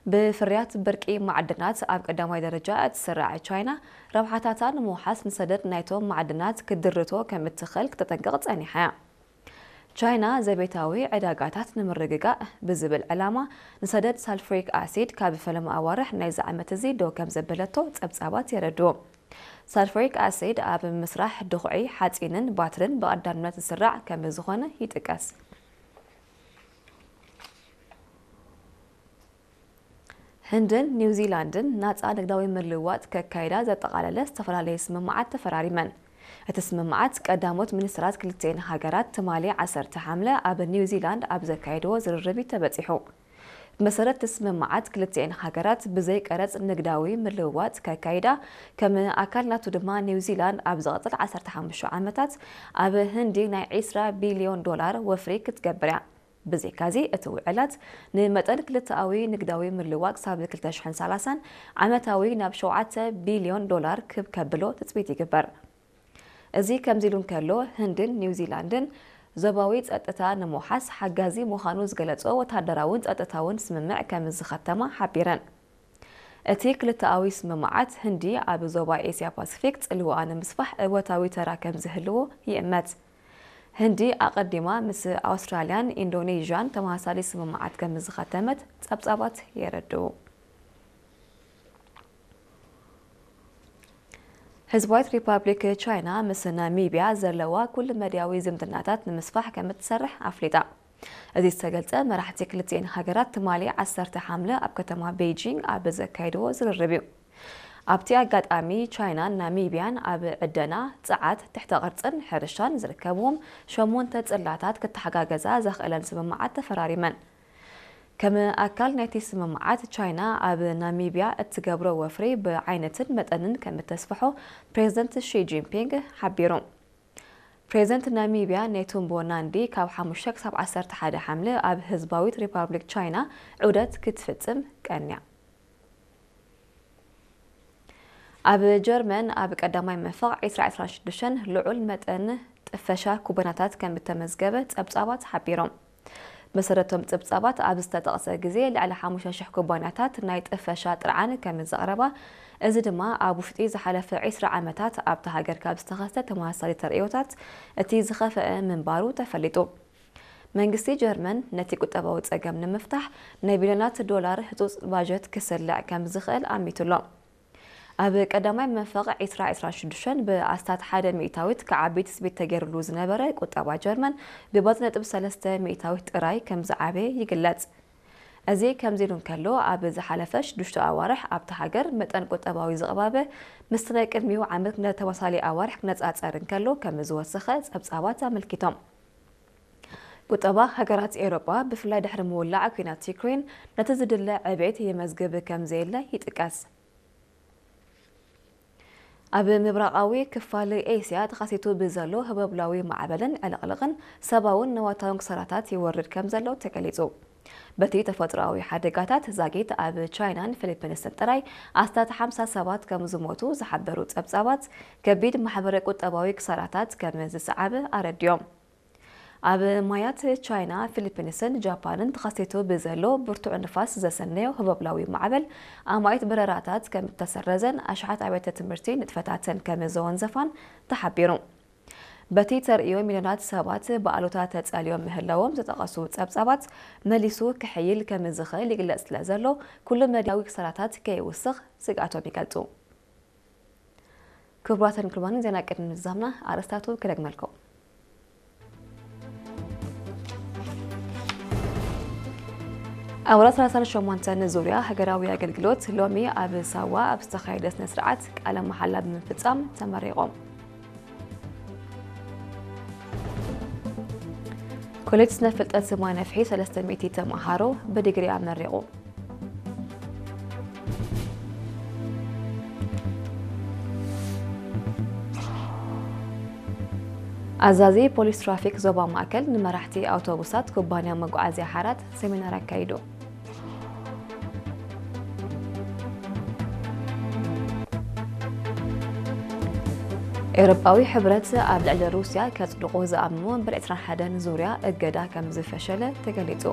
ብፍርያት ብርቂ ማዕድናት ኣብ ቀዳማይ ደረጃ እትስራዕ ቻይና፣ ረብሓታታ ንምውሓስ ንሰደድ ናይቶም ማዕድናት ክትድርቶ ከም እትኽእል ክተጠንቅቕ ጸኒሓ እያ። ቻይና ዘቤታዊ ዕዳጋታት ንምርግጋእ ብዝብል ዕላማ ንሰደድ ሳልፍሪክ ኣሲድ ካብ ፈለማ ኣዋርሕ ናይዚ ዓመት እዚ ደው ከም ዘበለቶ ጸብጻባት የረድኡ። ሳልፍሪክ ኣሲድ ኣብ ምስራሕ ድኹዒ ሓጺንን ባትርን ብቐዳምነት ዝስራዕ ከም ዝኾነ ይጥቀስ። ህንድን ኒውዚላንድን ናጻ ንግዳዊ ምልውዋጥ ከካይዳ ዘጠቓለለ ዝተፈላለየ ስምምዓት ተፈራሪመን። እቲ ስምምዓት ቀዳሞት ሚኒስትራት ክልቲኤን ሃገራት ትማሊ ዓሰርተ ሓምለ ኣብ ኒውዚላንድ ኣብ ዘካየድዎ ዝርርብ እዩ ተበጺሑ። ብመሰረት እቲ ስምምዓት ክልቲኤን ሃገራት ብዘይ ቀረጽ ንግዳዊ ምልውዋጥ ከካይዳ፣ ከም ኣካል ናቱ ድማ ኒውዚላንድ ኣብ ዝቐጽል ዓሰርተ ሓሙሽተ ዓመታት ኣብ ህንዲ ናይ ዒስራ ቢልዮን ዶላር ወፍሪ ክትገብር እያ። ብዘይካዚ እቲ ውዕላት ንመጠን ክልተኣዊ ንግዳዊ ምልውዋጥ ክሳብ ክልተ ሽሕን ሰላሳን ዓመታዊ ናብ ሸውዓተ ቢልዮን ዶላር ክብ ከብሎ ትጽቢት ይግበር። እዚ ከምዚ ኢሉ እንከሎ፣ ህንድን ኒውዚላንድን ዞባዊ ጸጥታ ንምውሓስ ሓጋዚ ምዃኑ ዝገለጾ ወተሃደራውን ጸጥታውን ስምምዕ ከም ዝኸተማ ሓቢረን። እቲ ክልተኣዊ ስምምዓት ህንዲ ኣብ ዞባ ኤስያ ፓሲፊክ ጽልዋኣ ንምስፋሕ እወታዊ ተራ ከም ዝህልዎ ይእመት። ህንዲ ኣቐዲማ ምስ ኣውስትራልያን ኢንዶኔዥያን ተመሳሳሊ ስምምዓት ከም ዝኸተመት ጸብጻባት የረድኡ። ህዝባዊት ሪፓብሊክ ቻይና ምስ ናሚብያ ዘለዋ ኩሉ መድያዊ ዝምድናታት ንምስፋሕ ከም እትሰርሕ ኣፍሊጣ። እዚ ዝተገልጸ መራሕቲ ክልቲኤን ሃገራት ትማሊ ዓሰርተ ሓምለ ኣብ ከተማ ቤይጂንግ ኣብ ዘካየድዎ ዝርርብ እዩ። ኣብቲ ኣጋጣሚ ቻይናን ናሚብያን ኣብ ዕደና፣ ጸዓት፣ ትሕተ ቅርጽን ሕርሻን ዝርከብዎም ሸሞንተ ጽላታት ክተሓጋገዛ ዘኽእለን ስምምዓት ተፈራሪመን። ከም ኣካል ናይቲ ስምምዓት፣ ቻይና ኣብ ናሚብያ እትገብሮ ወፍሪ ብዓይነትን መጠንን ከም እተስፍሖ ፕሬዝደንት ሺ ጂንፒንግ ሓቢሩ። ፕሬዝደንት ናሚብያ ኔቱምቦ ናንዲ ካብ ሓሙሽተ ክሳብ ዓሰርተ ሓደ ሓምለ ኣብ ህዝባዊት ሪፓብሊክ ቻይና ዑደት ክትፍጽም ቀንያ። ኣብ ጀርመን ኣብ ቀዳማይ መንፈቕ ዒስራ ዒስራን ሽዱሽተን ልዑል መጠን ጥፈሻ ኩባንያታት ከም እተመዝገበ ጸብጻባት ሓቢሮም። መሰረቶም ጸብጻባት ኣብ ዝተጠቕሰ ግዜ ልዕሊ ሓሙሽተ ሽሕ ኩባንያታት ናይ ጥፈሻ ጥርዓን ከም ዘቕረባ፣ እዚ ድማ ኣብ ውሽጢ ዝሓለፈ ዒስራ ዓመታት ኣብታ ሃገር ካብ ዝተኸስተ ተመሳሳሊ ተርእዮታት እቲ ዝኸፍአ ምንባሩ ተፈሊጡ። መንግስቲ ጀርመን ነቲ ቁጠባዊ ጸገም ንምፍታሕ ናይ ቢልዮናት ዶላር ህጹጽ ባጀት ክስልዕ ከም ዝኽእል ኣሚቱሎ። ኣብ ቀዳማይ መንፈቕ ዒስራ ዒስራን ሽዱሽተን ብኣስታት ሓደ ሚእታዊት ክዓቢ ትጽቢት ተገይሩሉ ዝነበረ ቁጠባ ጀርመን ብባጽ ነጥቢ ሰለስተ ሚእታዊት ጥራይ ከም ዝዓበየ ይግለጽ። እዚ ከምዚ ኢሉ እንከሎ፣ ኣብ ዝሓለፈ ሽዱሽተ ኣዋርሕ ኣብታ ሃገር መጠን ቁጠባዊ ዝቕባበ ምስቲ ናይ ቅድሚኡ ዓመት ነቲ ተመሳሳሊ ኣዋርሕ ክነጻጸር እንከሎ ከም ዝወሰኸ ጸብጻባት ኣመልኪቶም። ቁጠባ ሃገራት ኤውሮጳ፣ ብፍላይ ድሕሪ ምውላዕ ኲናት ዩክሬን፣ ነቲ ዝድለ ዕቤት የመዝግብ ከም ዘየለ ይጥቀስ። ኣብ ምብራቓዊ ክፋል ኤስያ ተኸሲቱ ብዘሎ ህቦብላዊ ማዕበልን ዕልቕልቕን ሰብኣውን ንዋታውን ክሳራታት ይወርድ ከም ዘሎ ተገሊጹ። በቲ ተፈጥሮኣዊ ሓደጋታት ዛጊት ኣብ ቻይናን ፊሊፒንስን ጥራይ ኣስታት ሓምሳ ሰባት ከም ዝሞቱ ዝሓበሩ ጸብጻባት፣ ከቢድ ማሕበረ ቁጠባዊ ክሳራታት ከም ዝሰዓበ ኣረዲኦም። ኣብ ማያት ቻይና፣ ፊሊፒንስን ጃፓንን ተኸሲቱ ብዘሎ ብርቱዕ ንፋስ ዘሰነዮ ህቦብላዊ ማዕበል፣ ኣማኢት በረራታት ከም እተሰረዘን ኣሽሓት ኣብያተ ትምህርቲ ንጥፈታተን ከም ዘወንዘፋን ተሓቢሩ። በቲ ተርእዮ፣ ሚልዮናት ሰባት ብኣሉታ ተጸልዮም ምህላዎም ዝጠቐሱ ጸብጻባት፣ መሊሱ ክሕይል ከም ዝኽእል ይግለጽ ስለ ዘሎ፣ ኩሉ መድያዊ ክሳራታት ከይውስኽ ስግኣቶም ይገልጹ። ክቡራትን ክቡራንን፣ ዜና ቅድሚ ምዝዛምና ኣርእስታቱ ክደግመልኩም። ኣባላት ሰላሳን ሸሞንተን ዙርያ ሃገራዊ ኣገልግሎት ሎሚ ኣብ ሳዋ ኣብ ዝተኻየደ ስነ ስርዓት ቃለ መሓላ ብምፍጻም ተመሪቖም። ኮሌጅ ስነ ፍልጠት ስማ ነፍሒ ሰለስተ ሚእቲ ተምሃሮ ብዲግሪ ኣመሪቑ። ኣዛዚ ፖሊስ ትራፊክ ዞባ ማእከል ንመራሕቲ ኣውቶቡሳት ኩባንያ መጓዓዝያ ሓራት ሴሚናር ኣካይዱ። ኤውሮጳዊ ሕብረት ኣብ ልዕሊ ሩስያ ከጽድቖ ዝኣመሞ እምበር ዕስራን ሓደን ዙርያ እገዳ ከም ዝፈሸለ ተገሊጹ።